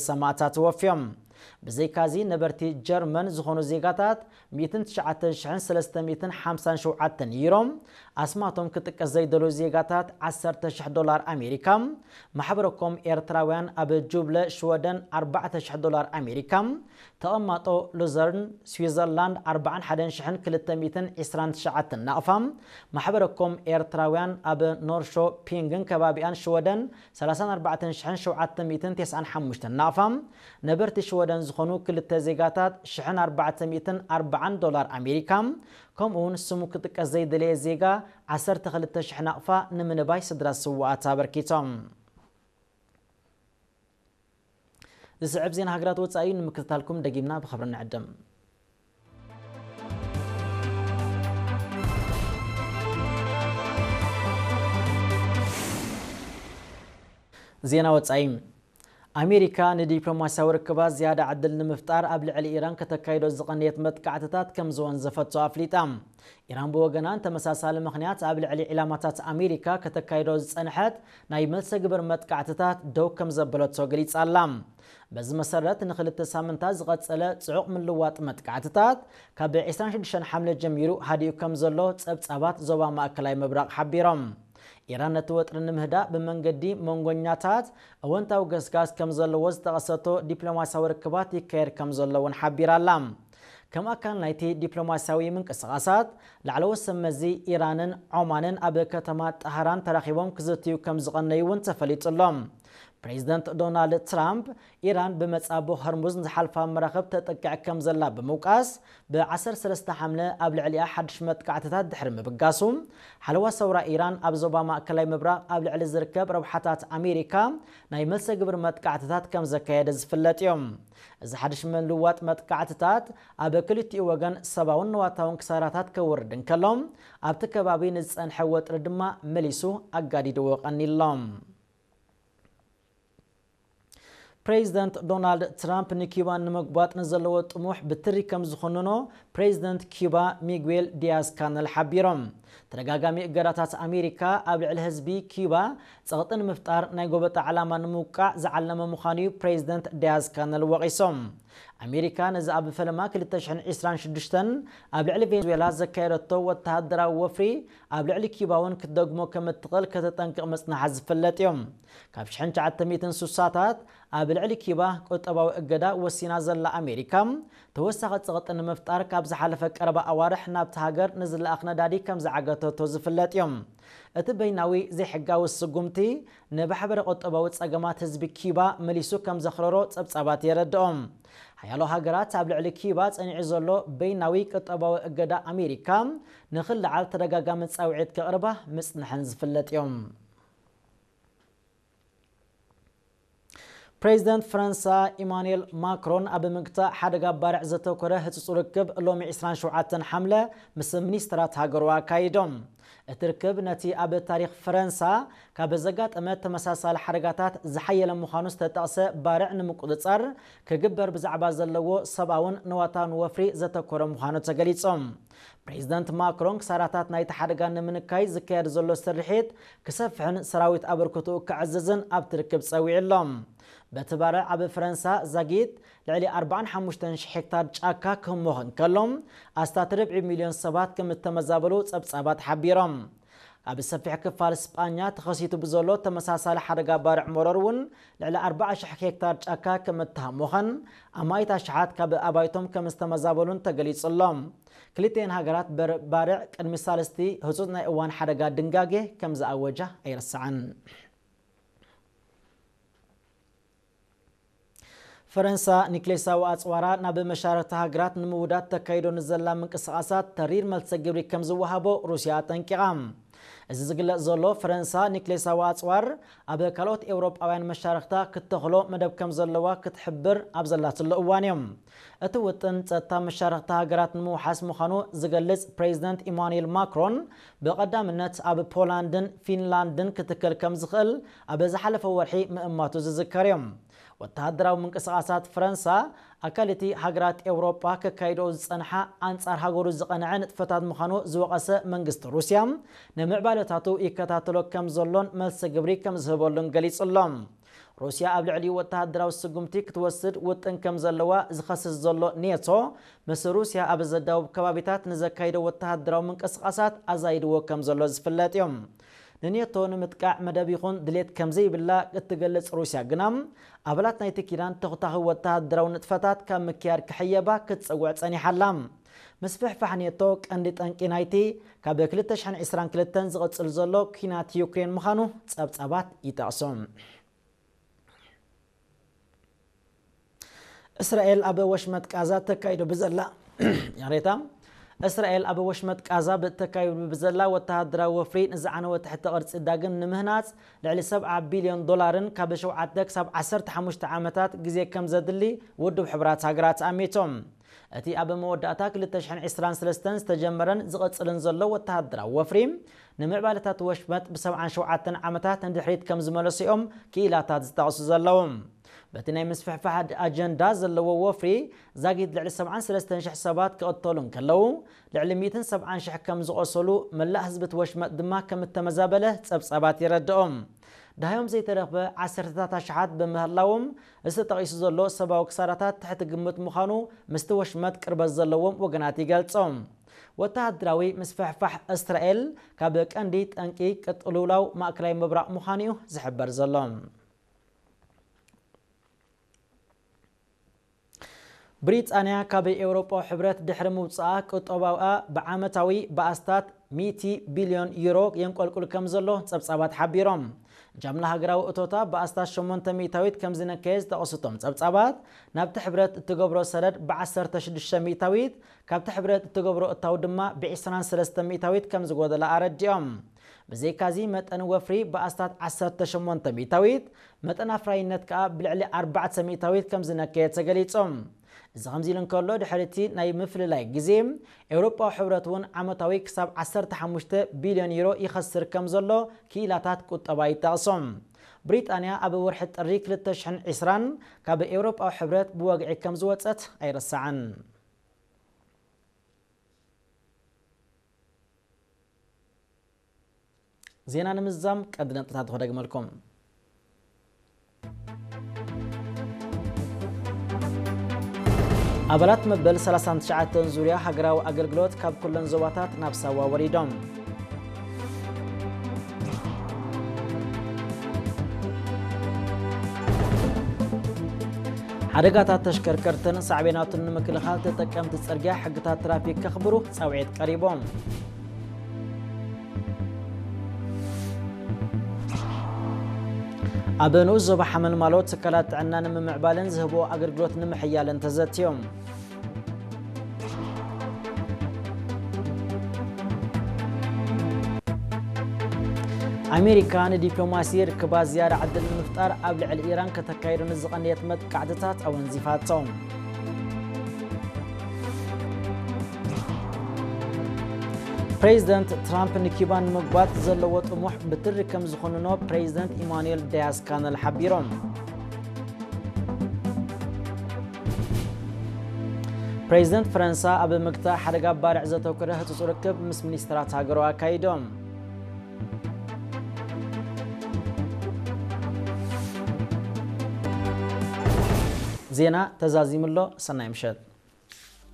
ሰማእታት ወፍዮም። ብዘይካዚ ነበርቲ ጀርመን ዝኾኑ ዜጋታት ሚእትን ትሽዓተ ሽሕን ሰለስተ ሚእትን ሓምሳን ሸውዓተን ዩሮ፣ ኣስማቶም ክጥቀስ ዘይደልዩ ዜጋታት ዓሰርተ ሽሕ ዶላር ኣሜሪካ፣ ማሕበረኮም ኤርትራውያን ኣብ ጁብለ ሽወደን ኣርባዕተ ሽሕ ዶላር ኣሜሪካ፣ ተቐማጦ ሉዘርን ስዊዘርላንድ ኣርባዓን ሓደን ሽሕን ክልተ ሚእትን ዕስራን ትሽዓተን ናቕፋ፣ ማሕበረኮም ኤርትራውያን ኣብ ኖርሾ ፒንግን ከባቢኣን ሽወደን ሰላሳን ኣርባዕተን ሽሕን ሸውዓተ ሚእትን ተስዓን ሓሙሽተን ናቕፋ፣ ነበርቲ ሽወደን ዝኾኑ ክልተ ዜጋታት ሽሕን ኣርባዕተ ሚእትን ኣርባዓን ዶላር ኣሜሪካ፣ ከምኡ እውን ስሙ ክጥቀስ ዘይደለየ ዜጋ ዓሰርተ ክልተ ሽሕ ናቕፋ ንምንባይ ስድራ ስውኣት ኣበርኪቶም። ዝስዕብ ዜና ሃገራት ወጻኢ ንምክትታልኩም ደጊምና ብኽብሪ ንዕድም። ዜና ወጻኢ። ኣሜሪካ ንዲፕሎማስያዊ ርክባት ዝያዳ ዕድል ንምፍጣር ኣብ ልዕሊ ኢራን ከተካይዶ ዝቐነየት መጥቃዕትታት ከም ዝወንዘፈቶ ኣፍሊጣ። ኢራን ብወገና ንተመሳሳሊ ምኽንያት ኣብ ልዕሊ ዒላማታት ኣሜሪካ ከተካይዶ ዝጸንሐት ናይ መልሰ ግብር መጥቃዕትታት ደው ከም ዘበለቶ ገሊጻ ኣላ። በዚ መሰረት ንኽልተ ሳምንታት ዝቐጸለ ጽዑቕ ምልዋጥ መጥቃዕትታት ካብ ዕስራን ሽዱሽተን ሓምለ ጀሚሩ ሃዲኡ ከም ዘሎ ጸብጻባት ዞባ ማእከላይ ምብራቕ ሓቢሮም። ኢራን ነቲ ወጥሪ ንምህዳእ ብመንገዲ መንጎኛታት እወንታዊ ገስጋስ ከም ዘለዎ ዝጠቐሰቶ ዲፕሎማስያዊ ርክባት ይካየድ ከም ዘሎ እውን ሓቢራ ኣላ። ከም ኣካል ናይቲ ዲፕሎማስያዊ ምንቅስቓሳት ላዕለዎት ሰብ መዚ ኢራንን ዖማንን ኣብ ከተማ ጣህራን ተራኺቦም ክዝትዩ ከም ዝቐነዩ እውን ተፈሊጡ ኣሎ። ፕሬዚደንት ዶናልድ ትራምፕ ኢራን ብመጻቦ ሆርሙዝ ንዝሓልፋ መራኽብ ተጠቅዕ ከም ዘላ ብምውቃስ፣ ብ13 ሓምለ ኣብ ልዕሊኣ ሓድሽ መጥቃዕትታት ድሕሪ ምብጋሱ፣ ሓለዋ ሰውራ ኢራን ኣብ ዞባ ማእከላይ ምብራቕ ኣብ ልዕሊ ዝርከብ ረብሓታት ኣሜሪካ ናይ መልሰ ግብር መጥቃዕትታት ከም ዘካየደ ዝፍለጥ እዩ። እዚ ሓድሽ ምልዋጥ መጥቃዕትታት ኣብ ክልቲኡ ወገን ሰባውን ንዋታውን ክሳራታት ከውርድ እንከሎ፣ ኣብቲ ከባቢ ንዝጸንሐ ወጥሪ ድማ መሊሱ ኣጋዲድዎ ቀኒሎም። ፕሬዚደንት ዶናልድ ትራምፕ ንኪዩባ ንምጉባጥ ንዘለዎ ጥሙሕ ብትሪ ከም ዝኹንኖ ፕሬዚደንት ኪዩባ ሚጉዌል ዲያዝ ካነል ሓቢሮም። ተደጋጋሚ እገዳታት ኣሜሪካ ኣብ ልዕሊ ህዝቢ ኪዩባ ጸቕጢ ንምፍጣር ናይ ጎበጣ ዕላማ ንምውቃዕ ዝዓለመ ምዃኑ እዩ ፕሬዚደንት ዲያዝ ካነል ወቒሶም። ኣሜሪካ ነዚ ኣብ ፈለማ ክልተ ሽሕን ዕስራን ሽዱሽተን ኣብ ልዕሊ ቬንዙዌላ ዘካየደቶ ወተሃደራዊ ወፍሪ ኣብ ልዕሊ ኪዩባ እውን ክትደግሞ ከም እትኽእል ከተጠንቅቕ ምጽናሓ ዝፍለጥ እዩ። ካብ ሽሕን ትሽዓተ ሚእትን ስሳታት ኣብ ልዕሊ ኪባ ቁጠባዊ እገዳ ወሲና ዘላ ኣሜሪካ፣ ተወሳኺ ጸቕጢ ንምፍጣር ካብ ዝሓለፈ ቀረባ ኣዋርሕ ናብቲ ሃገር ንዝለኣኽ ነዳዲ ከም ዝዓገተቶ ዝፍለጥ እዩ። እቲ በይናዊ ዘይሕጋዊ ስጉምቲ ንማሕበረ ቁጠባዊ ጸገማት ህዝቢ ኪባ መሊሱ ከም ዘኽረሮ ጸብጻባት የረድኦም። ሓያሎ ሃገራት ኣብ ልዕሊ ኪባ ጸኒዑ ዘሎ በይናዊ ቁጠባዊ እገዳ ኣሜሪካ ንኽልዓል ተደጋጋሚ ጻውዒት ከቕርባ ምጽንሐን ዝፍለጥ እዮም። ፕሬዚደንት ፈረንሳ ኢማኑኤል ማክሮን ኣብ ምግታእ ሓደጋ ባርዕ ዘተኮረ ህጹጽ ርክብ ሎሚ ዕስራን ሸውዓተን ሓምለ ምስ ሚኒስትራት ሃገሩ ኣካይዶም። እቲ ርክብ ነቲ ኣብ ታሪኽ ፈረንሳ ካብ ዘጋጠመ ተመሳሳሊ ሓደጋታት ዝሓየለ ምዃኑ ዝተጠቕሰ ባርዕ ንምቁጽጻር ክግበር ብዛዕባ ዘለዎ ሰብኣውን ንዋታውን ወፍሪ ዘተኮረ ምዃኑ ተገሊጾም። ፕሬዚደንት ማክሮን ክሳራታት ናይቲ ሓደጋ ንምንካይ ዝካየድ ዘሎ ስርሒት ክሰፍሕን ሰራዊት ኣበርክትኡ ክዕዝዝን ኣብቲ ርክብ ጸዊዑ ኣሎ። በቲ ባርዕ ኣብ ፈረንሳ ዛጊት ልዕሊ ኣርባዓን ሓሙሽተን ሽሕ ሄክታር ጫካ ክህሞኽ እንከሎ፣ ኣስታት ርብዒ ሚልዮን ሰባት ከም እተመዛበሉ ጸብጻባት ሓቢሮም። ኣብ ሰፊሕ ክፋል ስጳኛ ተኸሲቱ ብዘሎ ተመሳሳሊ ሓደጋ ባርዕ መሮር እውን ልዕሊ ኣርባዓ ሽሕ ሄክታር ጫካ ከም እተሃሞኸን ኣማኢት ኣሽሓት ካብ ኣባይቶም ከም ዝተመዛበሉን ተገሊጹ ኣሎ። ክልቲኤን ሃገራት በር-፣ ባርዕ ቅድሚ ሳልስቲ ህጹጽ ናይ እዋን ሓደጋ ድንጋጌ ከም ዝኣወጃ ኣይርሳዕን። ፈረንሳ ኒክሌሳዊ ኣጽዋራ ናብ መሻርክቲ ሃገራት ንምውዳድ ተካይዶ ንዘላ ምንቅስቓሳት ተሪር መልሰ ግብሪ ከም ዝወሃቦ ሩስያ ኣጠንቂቓ። እዚ ዝግለጽ ዘሎ ፈረንሳ ኒክሌሳዊ ኣጽዋር ኣብ ካልኦት ኤውሮጳውያን መሻርክታ ክትተኽሎ መደብ ከም ዘለዋ ክትሕብር ኣብ ዘላትሉ እዋን እዩ። እቲ ውጥን ጸጥታ መሻርክቲ ሃገራት ንምውሓስ ምዃኑ ዝገልጽ ፕሬዚደንት ኢማኑኤል ማክሮን ብቐዳምነት ኣብ ፖላንድን ፊንላንድን ክትከል ከም ዝኽእል ኣብ ዝሓለፈ ወርሒ ምእማቱ ዝዝከር እዩ። ወተሃደራዊ ምንቅስቓሳት ፈረንሳ ኣካል እቲ ሃገራት ኤውሮጳ ከካይድኦ ዝጸንሓ ኣንጻር ሃገሩ ዝቐንዐ ንጥፈታት ምዃኑ ዝወቐሰ መንግስቲ ሩስያ፣ ንምዕባለታቱ ይከታተሎ ከም ዘሎን መልሲ ግብሪ ከም ዝህበሉን ገሊጹ ኣሎ። ሩስያ ኣብ ልዕሊኡ ወተሃደራዊ ስጉምቲ ክትወስድ ውጥን ከም ዘለዋ ዝኸስስ ዘሎ ኔቶ፣ ምስ ሩስያ ኣብ ዘዳውብ ከባቢታት ንዘካይዶ ወተሃደራዊ ምንቅስቓሳት ኣዛይድዎ ከም ዘሎ ዝፍለጥ እዩ። ንኔቶ ንምጥቃዕ መደብ ይኹን ድሌት ከም ዘይብላ እትገልጽ ሩስያ ግና፣ ኣባላት ናይቲ ኪዳን ተኹታኺ ወተሃደራዊ ንጥፈታት ካብ ምክያድ ክሕየባ ክትጽውዕ ጸኒሓ ኣላ። ምስፍሕፋሕ ኔቶ ቀንዲ ጠንቂ ናይቲ ካብ ክልተ ሽሕን ዕስራን ክልተን ዝቕጽል ዘሎ ኲናት ዩክሬን ምዃኑ ጸብጻባት ይጠቕሱ። እስራኤል ኣብ ወሽመጥ ቃዛ ተካይዶ ብዘላ ይቕሬታ፣ እስራኤል ኣብ ወሽመጥ ቃዛ ብተካይዶ ብዘላ ወተሃደራዊ ወፍሪ ንዝዓነወ ትሕተ ቅርጺ ዳግም ንምህናጽ ልዕሊ ሰብዓ ቢልዮን ዶላርን ካብ ሸውዓተ ክሳብ ዓሰርተ ሓሙሽተ ዓመታት ግዜ ከም ዘድሊ ውድብ ሕቡራት ሃገራት ኣሚቶም። እቲ ኣብ መወዳእታ ክልተ ሽሕን ዕስራን ሰለስተን ዝተጀመረን ዝቕጽልን ዘሎ ወተሃደራዊ ወፍሪ፣ ንምዕባለታት ወሽመጥ ብ ሰብዓን ሸውዓተን ዓመታት ንድሕሪት ከም ዝመለሱ እዮም ክኢላታት ዝጠቕሱ ዘለዉ። በቲ ናይ ምስፍሕፋሕ ኣጀንዳ ዘለዎ ወፍሪ፣ ዛጊት ልዕሊ ሰብዓን ሰለስተን ሽሕ ሰባት ክቕተሉ እንከለዉ፣ ልዕሊ ሚእትን ሰብዓን ሽሕ ከም ዝቖሰሉ መላእ ህዝቢ እቲ ወሽመጥ ድማ ከም እተመዛበለ ጸብጻባት የረድኦም። ደሃዮም ዘይተረኽበ ዓሰርተታት ኣሽሓት ብምህላዎም፣ እዚ ተጠቒሱ ዘሎ ሰብኣዊ ክሳራታት ትሕቲ ግምት ምዃኑ ምስቲ ወሽመጥ ቅርበት ዘለዎም ወገናት ይገልጾም። ወተሃደራዊ ምስፍሕፋሕ እስራኤል ካብ ቀንዲ ጠንቂ ቅልውላው ማእከላይ ምብራቕ ምዃኑ እዩ ዝሕበር ዘሎ። ብሪጣንያ ካብ ኤውሮጳዊ ሕብረት ድሕሪ ምውጻኣ፣ ቁጠባኣ ብዓመታዊ ብኣስታት ሚእቲ ቢልዮን ዩሮ የንቆልቁል ከም ዘሎ ጸብጻባት ሓቢሮም። ጃምላ ሃገራዊ እቶታ ብኣስታት ሸሞንተ ሚእታዊት ከም ዝነከየ ዝጠቐሱ እቶም ጸብጻባት፣ ናብቲ ሕብረት እትገብሮ ሰደድ ብዓሰርተ ሽዱሽተ ሚእታዊት፣ ካብቲ ሕብረት እትገብሮ እታው ድማ ብዕስራን ሰለስተን ሚእታዊት ከም ዝጎደላ ኣረዲኦም። ብዘይካዚ፣ መጠን ወፍሪ ብኣስታት ዓሰርተ ሸሞንተ ሚእታዊት፣ መጠን ኣፍራይነት ከኣ ብልዕሊ ኣርባዕተ ሚእታዊት ከም ዝነከየ ተገሊጹ። እዚ ከምዚ ኢሉ እንከሎ፣ ድሕሪ እቲ ናይ ምፍልላይ ግዜ፣ ኤውሮጳዊ ሕብረት እውን ዓመታዊ ክሳብ ዓሰርተ ሓሙሽተ ቢልዮን ዩሮ ይኸስር ከም ዘሎ ክኢላታት ቁጠባ ይጠቕሱ። ብሪጣንያ ኣብ ወርሒ ጥሪ ክልተ ሽሕን ዕስራን ካብ ኤውሮጳዊ ሕብረት ብወግዒ ከም ዝወጸት ኣይርሳዕን። ዜና ንምዝዛም ቀንዲ ነጥብታት ክደግመልኩም። ኣባላት መበል ሰላሳን ትሽዓተን ዙርያ ሃገራዊ ኣገልግሎት ካብ ኩለን ዞባታት ናብ ሳዋ ወሪዶም። ሓደጋታት ተሽከርከርትን ሳዕቤናቱን ንምክልኻል፣ ተጠቀምቲ ጽርግያ ሕግታት ትራፊክ ከኽብሩ ጻውዒት ቀሪቦም። ኣብ ንኡስ ዞባ ሓመልማሎ ትካላት ጥዕና ንምምዕባልን ዝህብኦ ኣገልግሎት ንምሕያልን ተዘትዮም። ኣሜሪካ ንዲፕሎማሲ ርክባት ዝያዳ ዕድል ንምፍጣር ኣብ ልዕሊ ኢራን ከተካይዶ ንዝቐነየት መጥቃዕትታት ኣወንዚፋቶ። ፕሬዚደንት ትራምፕ ንኪባ ንምጉባት ዘለዎ ጥሙሕ ብትሪ ከም ዝኹንኖ ፕሬዚደንት ኢማኑኤል ዳያስ ካነል ሓቢሮም። ፕሬዚደንት ፈረንሳ ኣብ ምግታእ ሓደጋ ባርዕ ዘተኮረ ህጹጽ ርክብ ምስ ሚኒስትራት ሃገሩ ኣካይዶም። ዜና ተዛዚሙ ኣሎ። ሰናይ ምሸት።